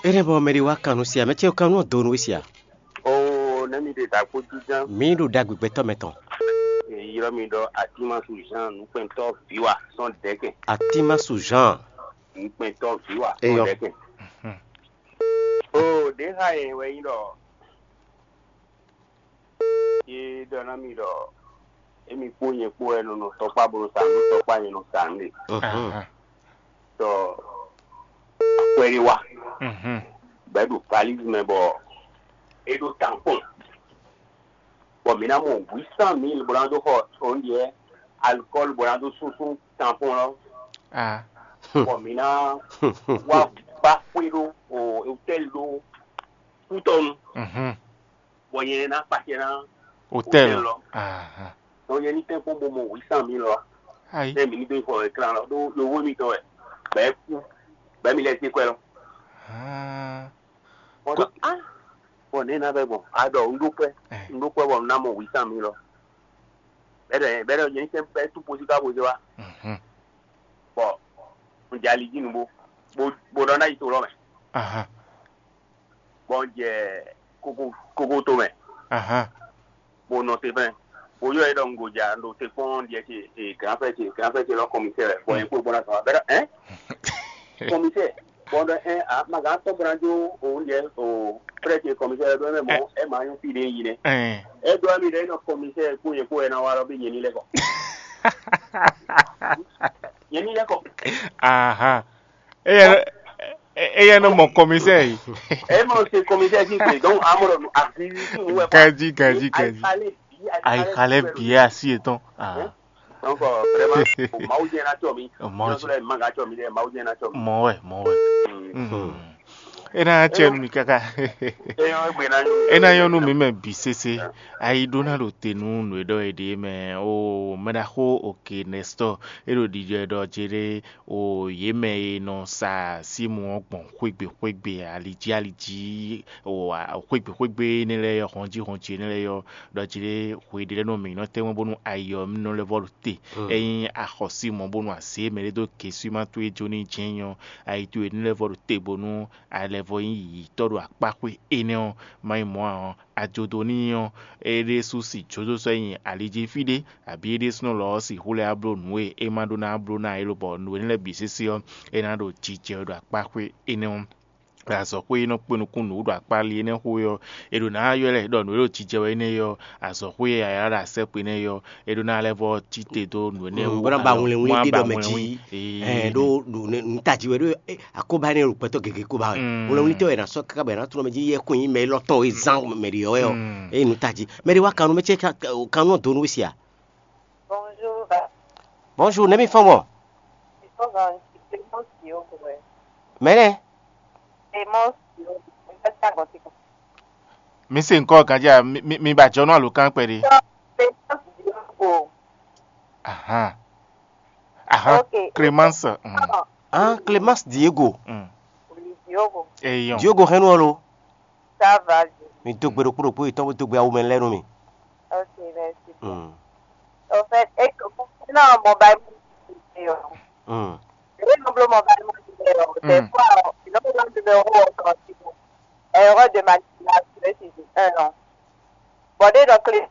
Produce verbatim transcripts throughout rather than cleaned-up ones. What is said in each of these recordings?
Énɛ́ bɔ mɛ ɖé wá kan nú sia, mɛ ce kan nú ɔ́ do nú we sia. Oo, nɛ́ mi ɖe ɖagbo jínján. Mǐ ɖo ɖagbe gbɛtɔ́ mɛ tɔn. Ylɔ́ mi ɖɔ Atimasu Jean nukpɛntɔ́ vǐwa sɔ́n dɛ̌kɛn. Atimasu Jean. Nukpɛntɔ́ vǐwa sɔ́n Eyɔ. Dɛ̌kɛn. Oo, ɖě xa yɛ wɛ nyí ɖɔ é ɖɔ ná mi ɖɔ émi kpó nyɛ kpó wɛ nɔ nɔ tɔkpá bó nɔ sa nǔ, tɔkpá nyɛ nɔ sa nǔ ɖe. Mhm. Ahan. Tɔ akwɛ́ ɖé wá. Mhm. Bɔ é ɖo valise mɛ bɔ é ɖó tampɔn. Bɔ mǐ ná mɔ huit cent mille bó ná dó xɔ oúnjẹ alcool bó ná dó súnsún tampɔn lɔ. Ah. Bɔ mǐ ná wá gbá xwé ɖó o hôtel ɖó kútɔnu. Mhm. Bɔ nyɛ ná kpacɛ ná Hôtel. Hôtel lɔ. Ahan. Bɔ nyɛ ní tɛ́nkpɔ́n bó mɔ huit cent mille lɔ. Ayi. Ɛ mǐ ní dó xɔ écran lɔ ɖó yovó mitɔn wɛ bɛ́ kú bɛ́ mi lɛ́ sí kwɛ lɔ. Ah. Bɔ ɖɔ ah bɔ nɛ̌ ná vɛ gbɔn a ɖɔ un ɖó kwɛ. Eh. Un ɖó kwɛ bɔ un ná mɔ huit cent mille lɔ. Bɛ́ ɖɔ bɛ́ ɖɔ nyɛ ní tɛ́nkpɔ́n tú posi ká bó zé wá. Mhm. Bɔ un jɛ ali jí nu bó bó bó ɖɔ ná yi to lɔ mɛ. Ahan. Bɔ un jɛ koko koko to mɛ. Ahan. Bó nɔ te fɛn bó yɔ é ɖɔ un goja un ɖo te kpɔ́n ɖiɛ ce e granfɛ ce granfɛ ce lɔ kɔmisɛ wɛ bɔ yɛn kpó bɔ ná sɔn abɛ ɖɔ ɛn kɔmisɛ bɔ ɖɔ ɛn a ma gán tɔn bó ná jó o ɖiɛ o frɛ ce kɔmisɛ wɛ ɖɔ ɛmɛ mɔ ɛ ma nyɔ fi ɖe yi nɛ. Ɛn. Ɛ ɖɔ mi ɖɔ e nɔ kɔmisɛ kpó yɛn kpó wɛ ná wa lɔ bí yɛn ní lɛ kɔ. Yɛn ní lɛ kɔ. Ahan. Eye eye nɔ mɔ kɔmisɛ yi. Eye mɔ se kɔmisɛ si gbe donc amɔ ɖɔ afi si mu wɛ. Kaji kaji kaji. Ayi xalɛ biɛ asi etɔn. Ah. Donc vraiment o mawu jɛ na tɔ mi. O mawu jɛ. Manga tɔ mi dɛ mawu jɛ na tɔ mi. Mɔ wɛ mɔ wɛ. Mm. E ná cɛ nu mi kaka. E ná yɔn nu mi mɛ bi sese. Ayi ɖó ná ɖo te nú nǔ e ɖɔ e ɖe mɛ o mɛ ɖaxó òkè nɛstɔ e ɖo ɖiɖɔ e ɖɔ jɛ ɖe o yě mɛ e nɔ sa símu ɔ́ gbɔn xwégbe xwégbe ali jí ali jí o xwégbe xwégbe énɛ́ lɛ́ɛ yɔ hɔnjí hɔnjí énɛ́ lɛ́ɛ yɔ ɖɔ jɛ ɖe hwe ɖé lɛ́ɛ nɔ mǐ nɔ tɛ́nwɛ́ bónú ayi ɔ́ nɔ lɛ́ vɔ ɖo te. Ényí a xɔ símu ɔ́ bónú a zě mɛ ɖé dó gesúma towe jó ní jɛ́n nyɔ ayi towe ní lɛ́ vɔ ɖo te bónú a lɛ́ vɔ nyí yǐyítɔ́ ɖo akpáxwé énɛ́ ɔ́, má nyí mɔ̌ ǎ ɔ́, a jó dó n'i ɔ́, é ɖésú si jódó sɔ́ nyi ali jí fí ɖé, abǐ é ɖésúnɔ lɔ ɔ́ sixú lɛ́ wá bló nǔ e é ma ɖó ná bló ná é lobɔ nǔ énɛ́ lɛ́ɛ bǐ sésé ɔ́, é ná ɖo jijɛ wɛ ɖo akpáxwé énɛ́ ɔ́. Azɔ̌xwé e nɔ kpé nukún nǔ ɖo akpá ali énɛ́ xo é ɔ́, è ɖǒ ná ylɔ́ ɛ ɖɔ nǔ e ɖo jijɛ wɛ énɛ́ é ɔ́, azɔ̌xwé e a ylɔ́ ɖo asɛ́kpo énɛ́ é ɔ́, é ɖó ná lɛ́ vɔ cí te dó nǔ énɛ́ wú, bó ná ba alɔ hwlɛnwín bó ná ɖé ba ɖɔ mɛ hwlɛnwín. Jí. Ee. Ɛ ɖó nǔ- nǔ- nǔtají wɛ ɖó ɛ, akóbá énɛ́ ɖo gbɛtɔ́ gěgé kóbá wɛ. Mm. Hwlɛnwíntɔ́ wɛ è nǎ sɔ́ káká bɔ è nǎ tlɔ́n mɛ jí yɛ́kún nyí mɛ élɔ́ tɔn e zán mɛ ɖě ɔ́ wɛ ɔ́. Mm. Eye nǔtají mɛ ɖé wá kan nú mɛ cɛ́ kan nú ɔ́ dó nú we sia. Bonjour. Bonjour, nɛ̌ mi fɔ́n gbɔn? Mɛ nɛ́? Mi se ŋkɔ ganjá mi mi ba jɔ nú alǒkan kpɛɖé. Ahan. Ahan. Ok. Clémence. Mm. Ah, Clémence Diego. Mm. Eyɔn. Diogo hɛn nú ɔ́ lo. Ça va. Mi dó gbe ɖokpó ɖokpó yětɔn bó dó gbe awu mɛ lɛ́ɛ nú mi. Ok, merci. Mm. En fait, et que concernant mobile money, euh, Mm. les nombres mobile money, euh, des Mm. fois, euh, ils ont besoin de numéro encore, erreur de manipulation, c'est un an. Bon, dès donc, les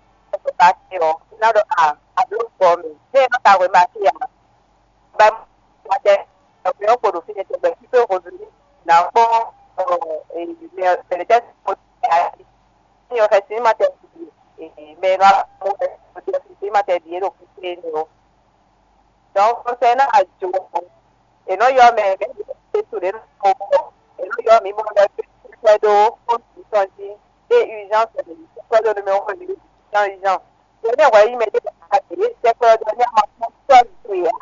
passer, euh, il a de ah, à bloc formé. Mais on a remarqué, hein, ben, moi, j'ai un numéro pour le finir, ben, tu peux revenir dans ton, euh, et, mais, euh, c'est le test. Io, fɛsinma tɛ e mɛ nɔ mo fɛsinma tɛ ɖi e ɖo kúkú e nɔ. Donc, concernant ajo, e nɔ yɔ mɛ mɛ e to ɖe nɔ mo e nɔ yɔ mi mo lɛ fɛ ɖo compte tɔn jí e urgence e mi sɛ ɖo numéro e mi urgent urgent. Ye ne hwɛ yi mɛ ɖe a ɖe sɛ kplɔ ɖo ní a ma kpɔn tɔ mi to ya.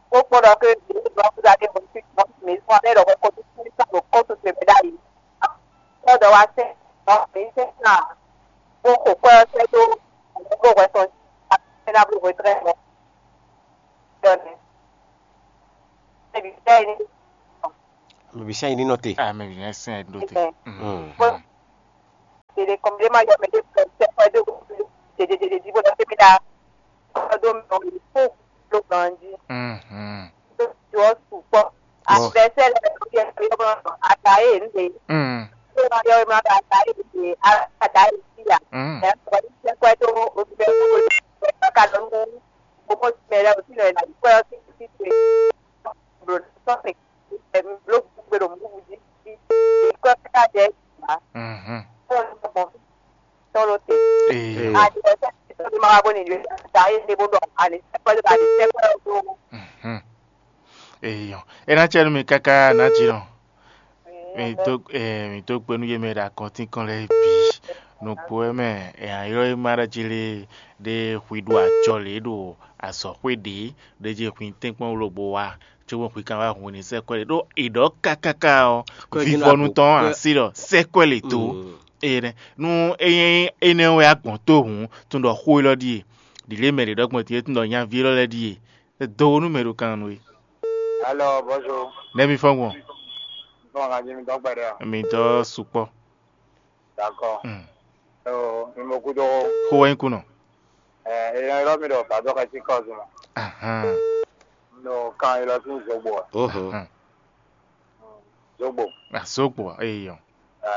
Kpokpɔ ɖɔ ke ɖe ɖɔ kúta ɖe mo ti kpɔn mi fún abɛ ɖɔ ko to mi sa ɖo compte to mi ɖ'ayi. Kpɔ́ ɖɔ wá sɛ́ nɔ mǐ sɛ́ ná bó xo kwɛ́ ɔ́ sɛ́ dó bó hwɛ tɔn jí ná bló hwetrɛ́nɔ. Dɔnɛ. Ebi sɛ́ yi ní. Mɛ bi sɛ́ yi ní nɔ te. Ah, mɛ bi sɛ́ yi ní nɔ te. Bó ɖeɖe kɔn ɖé má yɔ mɛ ɖé kɔ sɛ́ kwɛ́ dó ɖeɖeɖeɖe jí bó ɖɔ fé mí ɖá. Kpɔ́ dó mɛ ɔ́ mi fó ló gan jí. Dó jɔ sukpɔ́. Advɛsɛ lɛ lɛ ló yɛ ló yɔ bó nɔ ta e nde. Mm. Ko ma yɔ ma ba ta e nde a ta e si ya. Mm. E ko ni se ko to o be ko ka do nu. Ko mo me le o si le na ko si si se. Bro, so se. Bro, bro, mo bu ji. Ko ka de. Mhm. Ko mo tɔn ɖo te. Eyo. Adi ɔ́ sɛ́ tɔ́ ɖé ma wá bó ní yǒ da é ɖé bó ɖɔ ani sɛ́kpɛ́ ɖé ba ɖi sɛ́kpɛ́ ɖó. Mhm. Eyo. É ná cɛ nú mi káká ná jí nɔ. Mi tó eh, mi tó kpé nú yé mɛ ɖo akɔntínkɔn lɛ́ɛ bǐ. Nukpo wɛ mɛ è nǎ ylɔ́ é má ɖɔ jí lé ɖé hwi ɖo ajɔ lě ɖo azɔ̌xwé ɖě ɖé jí hwi tɛ́nkpɔ́n wú lobo wá cóbɔ hwi kan wá hun ní sɛ́kpɛ́ lě ɖó è ɖɔ kákáká ɔ́. Vivɔnu tɔn asi ɖɔ sɛ́kpɛ́ lě tó. Énɛ́ nú é nyí énɛ́ wɛ a gbɔn tó hǔn, tún ɖɔ xó élɔ́ ɖíe, ɖǐlé mɛ ɖě ɖɔ gbɔn tɛ́ntin tún ɖɔ nyaví élɔ́ lɛ́ɛ ɖíe. Dó nú mɛ ɖo kan nú we. Alɔ bɔzo. Nɛ́ mi fɔ́n gbɔn? Fɔ́n kan jí mi dɔ́ gbɛɖɛ ɔ. Mi dɔ́ sukpɔ́. Dakɔ. Mm. Ɔ mi mo kúdó. Xó wɛ nyí kú nɔ. Ɛ ɛ yɔ mi ɖɔ bàdó ka sí kɔzu ma. Ahan. No kan yi lɔ sí zogbo ɛ. Oho. Ahan. Zogbo. Azogbo eyɔ. Ɛ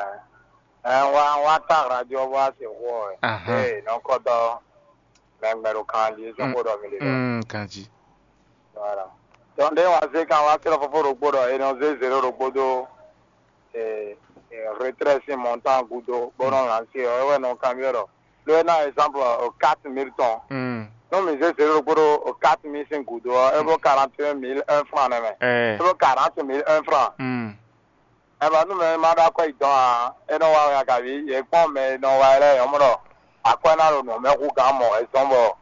ɛ wa wa ta radio wa se xɔ ɛ. Ahan. Ee nɔkɔtɔ mɛgbɛ ɖo kan jí sɔn kó ɖɔ mi ɖe. Mm, kanji. Voilà. Donc ɖé wa zé kan wa srɔ́ fofó ɖokpó ɖɔ è nɔ zé zéro ɖokpó dó eh, eh, retrait sín montant gúdo bó nɔ lancer ɔ́ é wɛ nɔ kanbyɔ́ ɖɔ ɖó é ná exemple o quatre mille tɔn. Mm. Nú mi zé zéro ɖokpó ɖó o quatre mille sín gúdo ɔ́ é bó quarante et un mille un franc nɛ́ mɛ. Eh. É bó quarante mille un franc. Mm. Ɛ ba nú mɛ ma ɖó akwɛ́ yi dɔn ǎ, é nɔ wa wɛ a kaví yě kpɔ́n mɛ e nɔ wa ɛ lɛ́ɛ yɔ́mɔ ɖɔ akwɛ́ ná ɖo nǔ mɛ hú gǎn mɔ̌ wɛ zɔ́n bɔ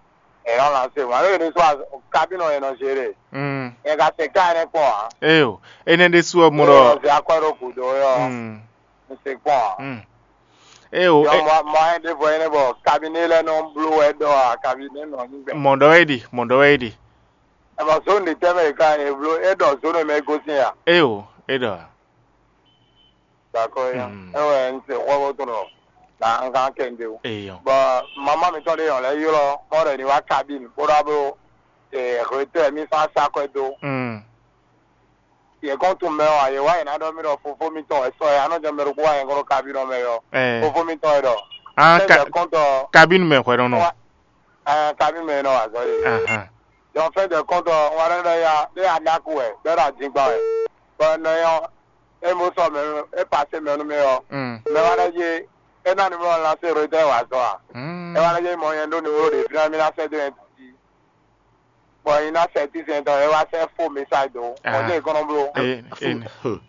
è nɔ lancer mɔ̌. Alɔ è nɔ sɔ́ kabínɔ è nɔ gérer. Mm. È ka se ká énɛ́ kpɔ́n ǎ. Eyo, énɛ́ ɖésú ɔ́ mɔ ɖɔ È nɔ zé akwɛ́ ɖó gǔdo é ɔ́, Mm, un se kpɔ́n ǎ. mm. Eyo, Yɔ e- mɔ mɔ ayé ɖěvo énɛ́ bɔ kabíné lɛ́ɛ nɔ bló wɛ ɖɔ ǎ, kabíné nɔ nyí gbɛ. Mɔ ɖɔ wɛ é ɖi, mɔ ɖɔ wɛ é ɖi. Ɛ bɔ zone ɖě tɛ́ mɛ è ka è bló é ɖɔ zone mɛ é gosín a? Eyo, é ɖɔ. D'accord ya. Mm. Ewe n se xɔ bo tɔn na n kan kɛ n de o. Eyo. Bɔ mama mi tɔn de yɔn lɛ ylɔ mɔ ɖe ni wa kabine bó ɖa bó retɛ mi sa sa kɔɛ do. Mm. Yɛ kɔn tun mɛ wa yɛ wa yɛ na ɖɔ mi ɖɔ fofo mi tɔn wɛ sɔ yɛ anɔ jɔ mɛ ɖo kó wa yɛ kɔn ɖo kabine mɛ yɔ. Eh. Fofo mi tɔn yɛ ɖɔ. Ah, sɛ ka- jɛ kɔn tɔ Kabine mɛ hwɛ nɔ nɔ. Wa ɛɛ kabine mɛ nɔ wa zɔ de. Ahan. Donc fin de compte ɔ, un wá ɖɔ ɖɔ ya ɖé aɖaku wɛ, ɖɔ ɖɔ adingban wɛ. Bɔ nɔ nyɔ é mo sɔ mɛ é pasé mɛ nú mɛ ɔ́, Mm. mɛ wá ɖɔ jí é ná numéro lancé Reuters wá zɔ a? Mm. É wá ɖɔ jí mɔ nyɛ ɖó numéro ɖě fínɛ́ mí ná sɛ́ dó nyɛ jí. Bɔ nyi ná sɛ́ tísɛn tɔn é wá sɛ́ fó message dó. Mɔ Ah. jẹ́ ìkɔnnɔ bló. Eh, eh,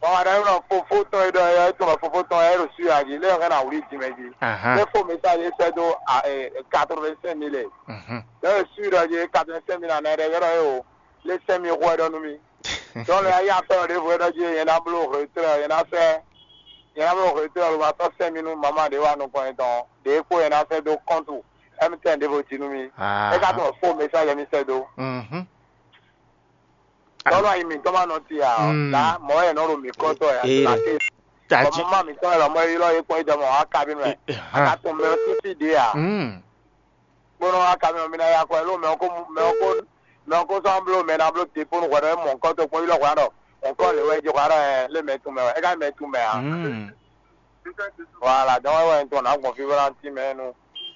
Bɔ wá ɖɔ nɔ fofó tɔn é ɖɔ é tɔn fofó tɔn é ɖo suya jí lé ɔ́ ká ná wlí jimɛ jí. Ahan. É fó message é sɛ́ dó quatre-vingt-cinq mille. Mhm. Lɛ e su ɖɔ yě quatre-vingt-cinq mille anɛ ɖɛ yɔrɔ yě o. Lé sɛn mi xɔ ɖɔ nú mi. Donc lɛ ayé afɛ ɖěvo ɖɔ jí yẹn ná bló hwetɔ́ yẹn ná fɛ yẹn ná bló hwetɔ́ ló ma tɔ́ sɛn mi nú mama ɖě wa nukɔn yẹn tɔn ɖě kpó yẹn ná fɛ dó kɔntu M T N ɖěvo jí nú mi. Ah. É ká tɔn fó message mi sɛ dó. Mhm. Tɔ́lɔ ayi mǐtɔn ma nɔ ti ǎ, Mm. la mɔ̌ wɛ nɔ ɖo mǐ kɔ́tɔ́ ɛ Ee, ati. Tají. Bɔ mama mǐtɔn wɛ lɔmɔ ylɔ́ yé kpɔ́n yi dɔmɔ wá kabí mɛ. Eh, eh, A ka hã. Tɔn mɛ ɔ́ sísí ɖě ǎ. Mm. Kpónɔ wá kabí mɛ mi ná ya kɔ ɛ ló mɛ ɔ́ kó mɛ ɔ́ kó mɛ ɔ́ kó sɔ́ bló mɛ ná bló te kpónɔ hwɛ ɖɔ é mɔ kɔ́tɔ́ kpɔ́n ylɔ́ hwɛ ɖɔ mɔ kɔ́ lě wɛ é jɛ hwɛ ɖɔ ɛ lé mɛ tun mɛ wɛ é ká mɛ tun mɛ ǎ. Mm. Wala dɔn wɛ wɛ tɔn ná gbɔn fí bó ná tín mɛ nú.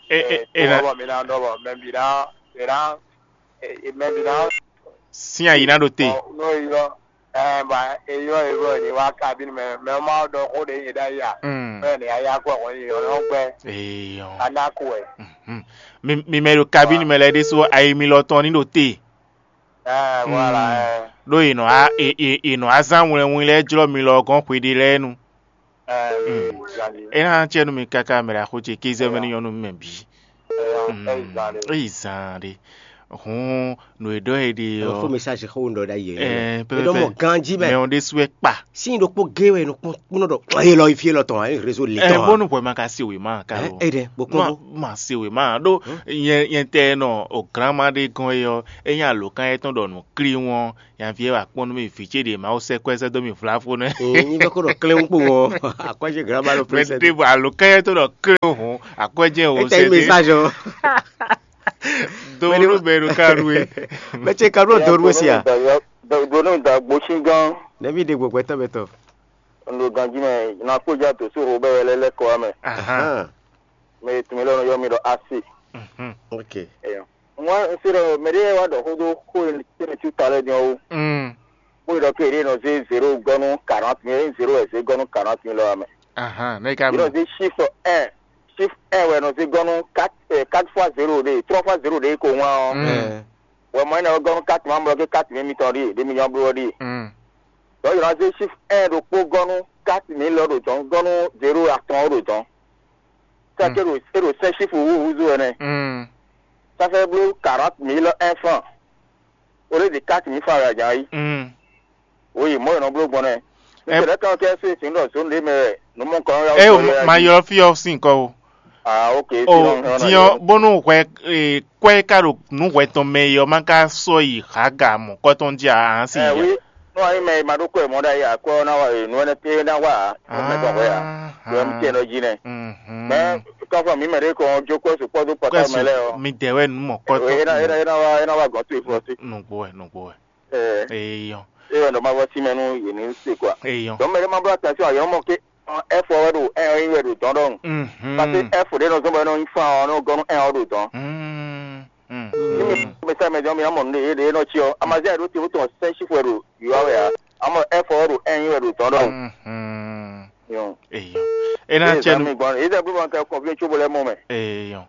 E e e na. Bɔ mi ná dɔ bɔ mɛ bi ná e ná e mɛ bi ná. Sin ayi ná ɖo te. N'o yɔ ɛ ba e yɔ e bɔ e wá kabine mɛ mɛ ma dɔ xó de yi da ya. Mm. Mɛ ne ya ya kɔ wɔ yi yɔ yɔ gbɛ. Eyɔ. Ana ko ɛ. Mhm. Mi mi mɛ ɖo kabine mɛ lɛ ɖésú ayi mi lɔ tɔn ní ɖo te. Ɛ voilà ɛ. Ɖó yě nɔ á yě yě yě nɔ á zán wlɛnwlɛn lɛ́ɛ jlɔ́ mi lɔ gɔ́n xweɖé lɛ́ɛ nu. Ɛ Mm. Zali. É ná cɛ nú mi káká mɛ ɖo axó ce kéze mɛ ní nyɔ́ nú mɛ bǐ. Ɛ Mm. Ɛ Zali. Eyi zaan ɖe. Hǔn nǔ e ɖɔ é ɖe Ɔ, ɔ́. Fó message xó un ɖɔ ɖ'ayǐ ɛ. Ɛ, È ɖɔ mɔ pɛpɛpɛ. Ganjí mɛ. Mɛ ɔ́ ɖésú wɛ kpa. Sín ɖokpó gé wɛ nɔ kpɔ́n kpɔ́n ɖɔ. Ɛ lɔ ifi lɔ tɔn ɛ réseau le Ɛ tɔn. Bónú hwɛ ma ka se wěma ka Ɛ lo. Ɛ ɖɛ bó kpɔ́n Ma bó. Ma se wěma ɖó nyɛ nyɛ tɛ nɔ o granma ɖé gɔn é ɔ́ é nyí alǒkan yɛtɔn ɖɔ nǔ klí wɔn nyaví ɛ wà kpɔ́n nú mì vǐ ce ɖě Mawu sɛ́ kwɛ́ sɛ́ dó mì vlavo nɛ́. Ní bɛ kó ɖɔ klé ń kpó wọn. Akɔ́jé granma ɖo Mɛ plé sɛ́ ɖé dó. Bɔ alǒkan yɛtɔn ɖɔ klé hǔn akwɛ́jɛ wò Étɛ́ sɛ́ yí dé. Message ɔ́. Donu bɛ ɖo ka ɖu é. Mɛ ce ka ɖo donu é sia. Donu da gbosíngán. Nɛvi ɖe gbɔgbɛtɔ bɛ tɔ. Un ɖo ganjí mɛ, na kpó ja dǒ sú Robɛ́ɛ wɛ lɛ́ lɛ́ kɔ wá mɛ. Ahan. Mɛ e tun mì lɔ nɔ ylɔ́ mì ɖɔ Asi. Mhm. Ok. Eyɔ. Wá un se ɖɔ mɛ ɖé wá ɖɔ xó dó xó e tɛ́nɛ cí ta lɛ́ɛ din ɔ́ wú. Mm. Bó ɖɔ ke ɖé nɔ zé zéro gɔ́ nú quarante mille, zéro wɛ zé gɔ́ nú quarante mille ɔ́ mɛ. Ahan, ne ka Yě nɔ zé chiffre un, chiffre un wɛ nɔ zé gɔ́ nú quatre, eh, quatre fois zéro ɖé, trois fois zéro ɖé ko wán ɔ́. Mm. Wɛ mɔ énɛ́ ɔ́ gɔ́ nú quatre ma blɔ ke quatre mille mitɔn ɖíe, ɖé mi nyɔ́ bló ɔ́ ɖíe. Mm. Donc yě nɔ zé chiffre un ɖokpó gɔ́ nú quatre mille ɔ́ ɖo dɔ̌n, gɔ́ nú zéro atɔn ɔ́ ɖo dɔ̌n. Ça que ɖo é ɖo sɛ́n chiffre wúwúzú wɛ nɛ́. Mm. Ça fait bló quarante mille un franc. Au lieu de quatre mille francs wɛ a jǎn yí. Mm. Oui, mɔ̌ è nɔ bló gbɔn nɛ́. Ɛ- Nítorí kan kɛ se sin ɖɔ zone ɖé mɛ wɛ nǔ mɔ kɔn ya. E o ma ylɔ fí ɔ sín kɔ o. Ah, ok. O diɔ bónú hwɛ, eh, kɔ́ e ka ɖo nǔ hwɛ tɔn mɛ e ɔ ma ka sɔ yi haga mɔ kɔ́ tɔn jí a hán sí Ɛ ya. Oui, nú anyi mɛ e ma ɖó kɔ ɛ mɔ ɖ'ayǐ akwɛ́ ɔ́ ná wa nǔ énɛ́ pé ná wa nú mɛ tɔn hwɛ a. Wɛ mú tiɛ nɔ jí nɛ. Mhm. Mɛ kɔfɔ mǐ mɛ ɖé kɔn jó kɔ́ sukpɔ́ dó pɔtá mɛ lɛ́ɛ ɔ́. Mi dɛ wɛ nǔ mɔ kɔ́ tɔn. É ná é ná é ná wá é ná wá gɔ̌n tó ifɔ sí. Nǔgbó wɛ, nǔgbó wɛ. Ɛ Eyɔn. Eyɔn ɖɔ ma vɔ sí mɛ nú yě ní se kɔa. Eyɔn. Dɔn mɛ ɖé ma bló attention ayɔn mɔ ké ɛfɔ wɛ ɖo ɛ ɔ́ wɛ ɖo dɔn ɖɔhun. Mhm. Parce que ɛfɔ ɖé nɔ zɔn bɔ ɛ nɔ nyi fan ɔ́ nɔ gɔn nú ɛ ɔ́ ɖo dɔn. Mm, mm, Ní mi mm. Mɛ sá mɛ dɔn mi amɔ nú ɖe ɖe nɔ tsi ɔ́ amazia ɖó te wótɔ sɛn si fɔ ɖo yɔ wɛ a amɔ ɛfɔ wɛ ɖo ɛ wɛ ɖo dɔn ɖɔhun. Mhm. Yɔn. Eyɔn. E na Eye cɛ zan nu. Mi gbɔn eze gbé bɔ kɛ kɔnfin tso bo lɛ mɔ mɛ. Eyɔn.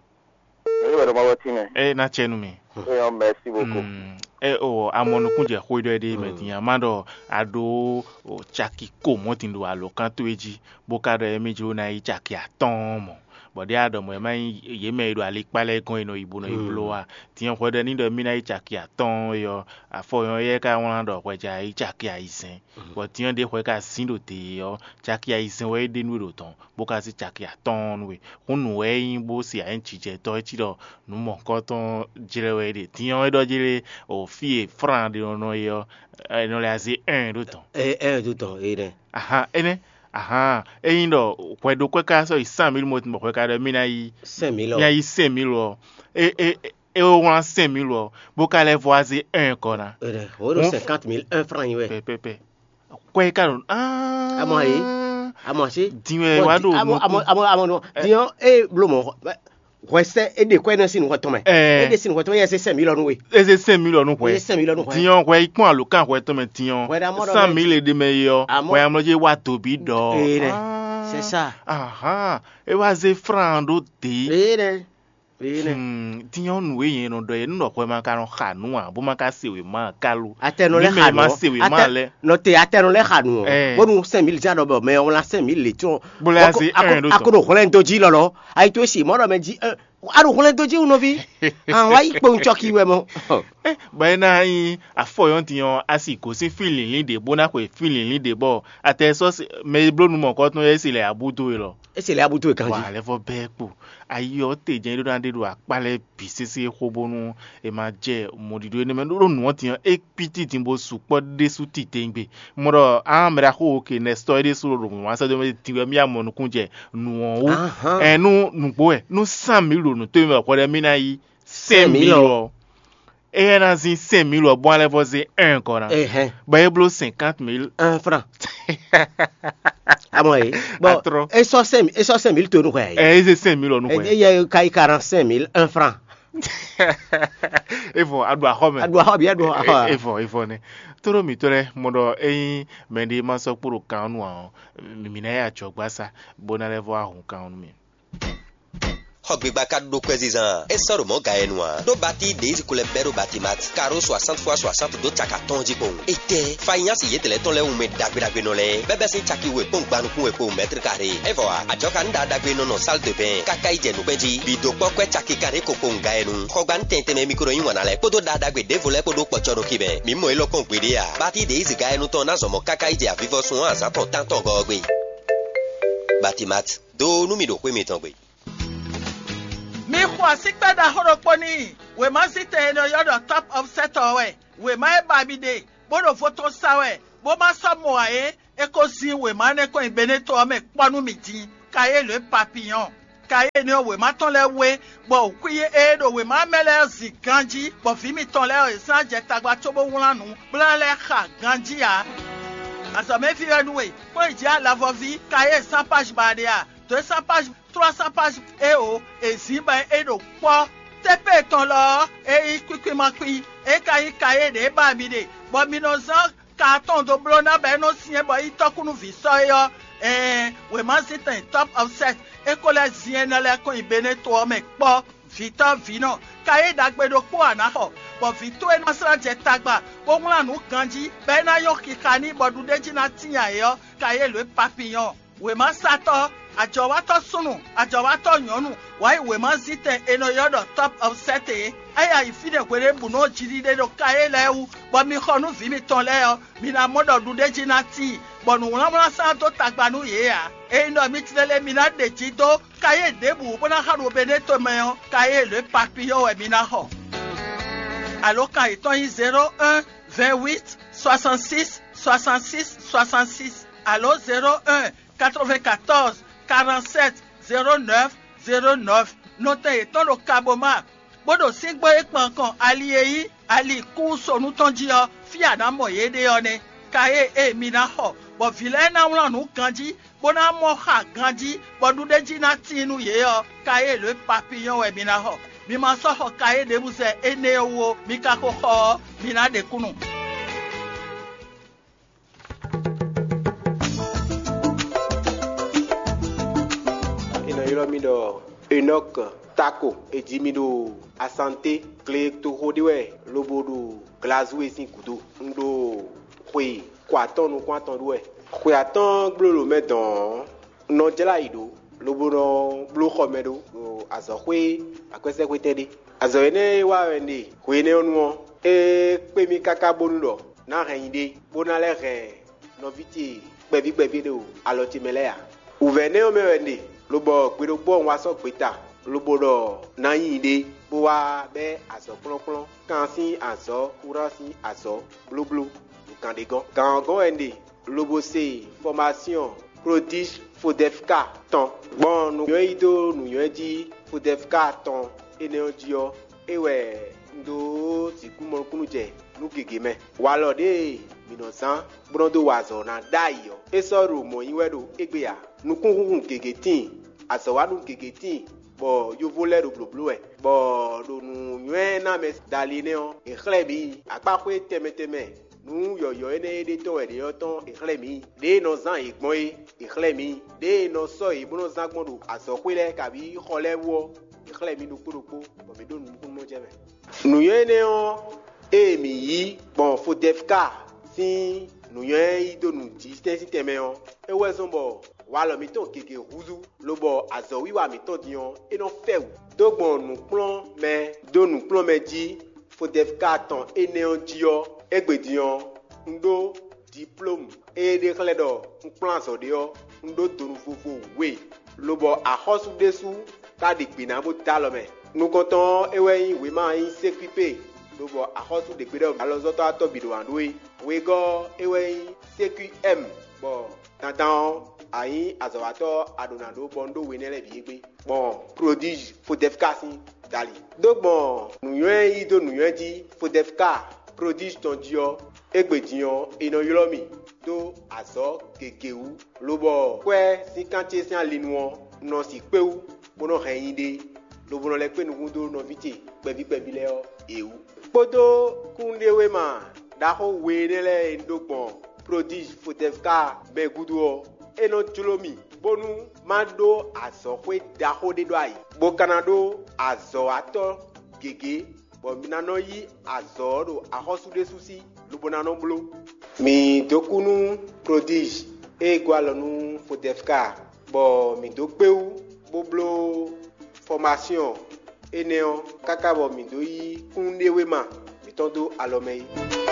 Eye wɛ ɖo ma wɔ ti mɛ. E na cɛ nu mi. Eyɔn, merci beaucoup. Mm. E o amɔ nukun jɛ xwe ɖɔ ɖe mɛ din ama ɖɔ a ɖo o caki ko mɔ tin ɖo alɔkan towe jí bó ka ɖɔ emi jlo na yi caki atɔn mɔ bɔ ɖe a ɖɔ mɔ ɛ ma nyi yě mɛ e ɖo alikpa lɛ́ɛ gɔ́n e nɔ yi bo nɔ yi bló wa. Din hwɛ ɖɔ ní ɖɔ mí ná yi caki atɔn e ɔ́ afɔ yɔn yɛ ka wlán ɖɔ hwɛ ja yi caki ayizɛn bɔ din ɖe hwɛ ka zín ɖo te e ɔ́ caki ayizɛn wɛ é ɖe nú e ɖo dɔn bó ka zí caki atɔ́ɔ́n nú we. Hún nǔ wɛ é nyí bó se ayǐjijɛtɔ́ é cí ɖɔ nǔ mɔ̌hunkɔtɔn jlɛ́ wɛ é ɖe. Din ɔ́, é ɖɔ jlé o fí e Fran ɖe nɔ nɔ é ɔ́, è nɔ lɛ́ azé ɛn ɖó tɔn. Ɛ ɛ ɖó tɔn é nɛ. Ahan, énɛ́, ahan, ényí ɖɔ hwɛ ɖokpɛ́ ka sɔ́ yi sán mǐ mɔ bɔ hwɛ ka ɖɔ mì ná yí Sɛn mǐ lɔ. Mì ná yí sɛn mǐ lɔ. É é é wlán sɛn mǐ lɔ, bó ka lɛ́ vɔ azé ɛn kɔ ná. Ɛ o ɖo cinquante mille un franc nyi wɛ. Pɛpɛpɛ. Kwɛ ka ɖo aa. Amɔ yi. Amɔ si. Din wɛ wa ɖo amɔ amɔ amɔ amɔ nɔ diɔ e blo mɔ hwɛsɛ e ɖe kwɛ nɔ si nukɔ tɔn mɛ. Ɛ. E ɖe si nukɔ tɔn mɛ yɛ se sɛn mi lɔ nu we. Eze sɛn mi lɔ nu hwɛ. Eze sɛn mi lɔ nu hwɛ. Diɔ hwɛ ikpɔn alo kan hwɛ tɔn mɛ diɔ. Hwɛ ɖe amɔ ɖɔ san mɛ. Mi le ɖe mɛ yɔ. Amɔ. Hwɛ amɔ dzi wa tobi dɔ. Ee nɛ. C'est ça. Ahan. E wa ze fran ɖo de. Ee nɛ. Ee nɛ. Hmm, tiɲɔ nǔ e nyɛ nɔ ɖɔ yɛ nú ɖɔ hwɛ ma ka nɔ xa nǔ ǎ bó ma ka se wěma ká lo. Atɛnɔ lɛ xa nǔ ɔ. Nɔ te atɛnɔ lɛ xa nǔ ɔ. Bónú sɛn mi ja ɖɔ bɔ mɛ ɔ́ wlá sɛn mi lě tɔn. Bó lɛ asi ɛn ɖó tɔn. A ko ɖo hwlɛn dó jí lɔlɔ. Ayi tó si mɔ ɖɔ mɛ jí a ɖo hwlɛn dó jí wú nɔví. An wá yí kpowun cɔki wɛ mɔ. Bɔ é ná nyí afɔyɔ́ntin ɔ́, a si gǒsín fí lǐnlín ɖě bó ná xwe fí lǐnlín ɖě bɔ atɛ sɔ́ mɛ e bló nú mɔ̌kɔ́tɔn é se lɛ abú dó we lɔ. É se lɛ abú dó we ganjí. Wà á lɛ́ vɔ bɛ́ kpo. Ayi ɔ́ te jɛ́n é ɖó ná ɖe ɖo akpá lɛ́ɛ bǐ sésé xó bónú è ma jɛ mɔɖiɖo énɛ́ mɛ ɖó nǔ ɔ́ din ɔ́, é kpítí din bó sukpɔ́ ɖésú titewungbe. Mɔ ɖɔ á mɛ ɖaxó ke nɛstɔ́ é ɖésú ɖo nǔ wá sɛ́ dó mɛ din wɛ mí ya mɔ nukún jɛ nǔ ɔ́ wú. Ɛ nú nǔgbó wɛ nú sán mǐ ɖo nǔ tó mɛ hwɛ ɖɛ mí ná yí sɛ́n mǐ lɔ. Éyɛ́ ná zín sɛ́n mǐ lɔ bó alɛ vɔ zé ɛn kɔ ná. Bɔ é bló cinquante mille un franc. Amɔ ye. Bon, e sɔ sɛn mi e sɔ sɛn mi to nu xɛ. Ɛ eze sɛn mi lɔ nu xɛ. E ye ka yi quarante cinq mille un franc. Evɔ a ɖo axɔ mɛ. A ɖo axɔ bi a ɖo axɔ. Evɔ evɔ nɛ. Toro mi tɔ lɛ mɔ ɖɔ eyin mɛ ɖe ma sɔ kpo ɖo kan nu a ɔ mi na ya jɔ gbasa bo na lɛ vɔ ahun kan nu mi. Xɔ gbigba ka ɖo kwɛzizan e sɔ ɖo mɔ̌ ga yɛ nu ǎ. Ɖó bati ɖě yi ko lɛ bɛ́ ɖo batimat karo soixante fois soixante ɖó caka tɔn jí kpowun. Etɛ́ fanyasi yětɛlɛ tɔn lɛ́ɛ wun mɛ ɖagbe ɖagbe nɔ lɛ́ɛ bɛ́ bɛ́ sín caki we kpɔ́n gban nukún we kpowun mɛtr kare. É vɔ ǎ, ajɔ̌ ka ní ɖaɖagbe nɔ nɔ sál de bɛn káká yi jɛ nukpɛ́n jí. Bǐ dó kpɔ́ kwɛ́ caki kanɖé ko kpowun ga yɛ nu. Xɔgban tɛn tɛnmɛ mi ko nɔ yí wǎn ná lɛ́ɛ kpódó ɖaɖagbe ɖěvo lɛ́ɛ kpó ɖó kpɔcɔ ɖo xi mɛ. Mǐ mɔ élɔ́ kpɔ́n gbeɖé ǎ. Bati ɖě yi zǐga yɛ nu tɔn ná zɔn mɔ káká yi jɛ avivɔsun ɔ́ azǎn tɔn tántɔn gɔ́ ɔ́ gbe. Batimat. Do nú mì ɖo xwé mitɔn gbe. Mi xo asíkpɛ́ ɖaxó ɖokpó n'i. Wěmazítɛn e nɔ ylɔ́ ɖɔ Top Offset ɔ́ wɛ. Wěma e ba mi ɖe, bó ɖo vo tɔn sa wɛ, bó ma sɔ́ mɔ ǎ é, é ko zín wěma énɛ́ kɔn nyi Beneto ɔ́ mɛ kpɔ́ nú mì din. Kayélu e papiyɔn. Kayélu ɔ́, wěma tɔn lɛ́ɛ wé, bɔ wǔxwí e ɖo wěma mɛ lɛ́ɛ zin ganjí, bɔ vǐ mitɔn lɛ́ɛ ɔ́, è zán jɛ tagba cóbó wlán nǔ, bó ná lɛ́ xa ganjí ǎ. Azɔ̌mɛví wɛ nú we, kplɔ́n yi jǐ alavɔví Kayé cent page ba ɖe a? Dǒ cent page, trois cent page eo è zǐn bɔ é ɖo kpɔ́. Tépé tɔn lɔ ɔ́, é nyí kwíkwímakpí, é ka nyí Kayé ɖě ba mi ɖe, bɔ mi nɔ zán ka atɔn dó bló ná bɔ é nɔ́ syɛ́n bɔ é nyí tɔ́kúnúví sɔ́ é ɔ́, ɛɛn, wěmazíntɛn Top of Set é ko lɛ́ zin énɛ́ lɛ́ɛ kɔn nyi Beneto ɔ́ mɛ kpɔ́. Vǐtɔ́ vǐnɔ, Kayé ɖagbe ɖokpó a nǎ xɔ, bɔ vǐ towe ná slá jɛ tagba, bó wlán nǔ ganjí, bɔ é ná nyɔ́ xixa n'i, bɔ ɖuɖéjí ná tíin ayǐ ɔ́, Kayé lǒ e papiyɔ́n. Wěmasatɔ́, ajɔ̌watɔ́ súnnu, ajɔ̌watɔ́ nyɔ̌nu, wǎ yi wěmazíntɛn è nɔ ylɔ́ ɖɔ Top of Set é. É yi fínɛ́ hweɖěbǔnu ɔ́ jiɖiɖe ɖo Kayé lɛ́ɛ wú, bɔ mi xɔ nú vǐ mitɔn lɛ́ɛ ɔ́, mi ná mɔ ɖɔ ɖuɖéjí ná tíin, bɔ nǔwlánwlán sán dó tagba nú yě ǎ. Ényí ɖɔ mi tlélé mi ná ɖe jǐ dó Kayé ɖěbǔ bó ná xa ɖo Beneto mɛ ɔ́, Kayé lě papiyɔ́ wɛ mi ná xɔ. Alǒkan yětɔn nyí zéro un, vingt huit, soixante six, soixante six, soixante six, alǒ zéro un, quatre-vingt-quatorze, quarante-sept, zéro neuf, zéro neuf. Nɔtɛn yětɔn ɖo Kaboma, bó ɖo síngbó e kpan kɔn ali e nyí ali kúsonu tɔn jí ɔ́, fí a nǎ mɔ yě ɖe ɔ́ nɛ́. Kayé e mi ná xɔ, bɔ vǐ lɛ́ɛ ná wlán nǔ ganjí, bó ná mɔ xa ganjí, bɔ ɖuɖéjí ná tíin nú yě ɔ́, Kayé lě papiyɔ́n wɛ mi ná xɔ. Mi ma sɔ́ xɔ Kayé ɖěbǔ zɛ énɛ́ ɔ́ wú ó, mi ka ko xɔ ɔ́, mi ná ɖe kúnnu. È nɔ ylɔ́ mì ɖɔ Enɔk Tako. È ji mì ɖo Asanté, gletoxo ɖé wɛ, lobo ɖo Glazue sín gǔdo. Un ɖo xwe ko atɔ́ɔ́n nukún atɔn ɖu wɛ. Xwe atɔ́ɔ́n gbló ɖo mɛ dɔn ɔ́, un nɔ jlá yi ɖǒ, lobo nɔ bló xɔ mɛ ɖó ɖo azɔ̌xwé akwɛ́sɛ́xwétɛn ɖé. Azɔ̌ énɛ́ e wa wɛ un ɖe hwe énɛ́ ɔ́ nu ɔ́, é kpé mì káká bónú ɖɔ ná hɛn nyi ɖé, bó ná lɛ́ hɛn nɔví ce kpɛví kpɛví ɖo alɔ ce mɛ lɛ́ɛ ǎ. Wǔvɛ́ énɛ́ ɔ́ mɛ wɛ un ɖe, lobɔ gbe ɖokpó ɔ́ un wá sɔ́ gbeta, lobo ɖɔ ná nyi ɖé, bó wá bɛ́ azɔ̌ kplɔ́nkplɔ́n, kan sín azɔ̌, wúrán sín azɔ̌, blóbló, ɖo gǎn ɖé gɔ́n. Gǎn ɔ́ gɔ́n wɛ un ɖe, lobo se fɔmasyɔn Prodige Fodɛfka tɔn. Gbɔn nǔnywɛ́ yí dó nǔnywɛ́ jí Fodɛfka tɔn énɛ́ ɔ́ jí ɔ́, é wɛ un dó sixú mɔ nukúnnú jɛ nǔ gěgé mɛ. Walɔ ɖěe mǐ nɔ zán bó nɔ́ dó wa azɔ̌ ná ɖ'ayǐ ɔ́, é sɔ́ ɖo mɔ̌ nyí wɛ ɖo égbé ǎ. Nukúnhúnhun gěgé tíin, azɔ̌wanú gěgé tíin, bɔ yovo lɛ́ɛ ɖo blǒbló wɛ, bɔ ɖo nǔnywɛ́ ná mɛ dali nɛ́ ɔ́, è xlɛ́ mǐ akpáxwé tɛnmɛ tɛnmɛ nǔ yɔ̌yɔ́ énɛ́ e ɖe tɔn wɛ ɖě ɔ́ tɔn è xlɛ́ mǐ. Ɖěe è nɔ zán yě gbɔn é, è xlɛ́ mǐ. Ɖěe è nɔ sɔ́ yě bó nɔ́ zán gbɔn ɖo azɔ̌xwé lɛ́ɛ kabǐ xɔ lɛ́ɛ wú ɔ́, è xlɛ́ mǐ ɖokpó ɖokpó, bɔ mǐ ɖo nukúnnú jɛ mɛ. Nǔnywɛ́ énɛ́ ɔ́, ée mǐ yí gbɔn Fodɛfka sín nǔnywɛ́ yí dó nǔjísɛ́n sín tɛnmɛ ɔ́, é wɛ zɔ́n bɔ walɔ mǐtɔn gěgé húzú, lobɔ azɔ̌wiwa mǐtɔn din ɔ́, é nɔ fɛ wǔ. Dó gbɔn nǔkplɔ́nmɛ dó nǔkplɔ́nmɛ jí Fodɛfka tɔn énɛ́ ɔ́ jí ɔ́, égbé din ɔ́, un ɖó diplómu e ɖe xlɛ́ ɖɔ un kplɔ́n azɔ̌ ɖé ɔ́, un ɖó donu vovo we, lobɔ axɔ́sú ɖésú ka ɖe gbě ná bó dó alɔ mɛ. Nukɔntɔn ɔ́, é wɛ nyí wěma e nyí sékúipé, lobɔ axɔ́sú ɖě gbe ɖɔ alɔzɔ́tɔ́ atɔ́ bǐ ɖo wǎn ɖó é. Wegɔ́ ɔ́, é wɛ nyí sékúi ɛ́m, bɔ dandan ɔ́, a nyí azɔ̌watɔ́ a ɖǒ ná ɖó bɔ un ɖó we énɛ́ lɛ́ɛ bǐ égbé, gbɔn Prodízhi Fodɛfka sín dali. Dó gbɔn nǔnywɛ́ yí dó nǔnywɛ́ jí Fodɛfka Prodízhi tɔn jí ɔ́, égbé din ɔ́, è nɔ ylɔ́ mì dó azɔ̌ gěgé wú, lobɔ kwɛ́ sín kan ce sín alinu ɔ́, un nɔ si kpé wú, bó nɔ́ hɛn nyi ɖe, lobo nɔ lɛ́ kpé nukún dó nɔví ce kpɛví kpɛví lɛ́ɛ ɔ́, è wú. Kpódó kúnnuɖewéma ɖaxó we énɛ́ lɛ́ɛ e un ɖó gbɔn Prodízhi Fodɛfka mɛ gúdo ɔ́, é nɔ jló mì bónú má ɖó azɔ̌xwé ɖaxó ɖé ɖó ayǐ, bó ka ná ɖó azɔ̌watɔ́ gěgé, bɔ mi ná nɔ yí azɔ̌ ɔ́ ɖo axɔ́sú ɖésú sí, lobo ná nɔ bló. Mǐ dó kú nú Prodízhi e gɔ́ alɔ nú Fodɛfka, bɔ mǐ dó kpé wú bó bló fɔmasyɔn énɛ́ ɔ́, káká bɔ mǐ dó yí kúnnuɖewéma mǐtɔn dó alɔ mɛ é.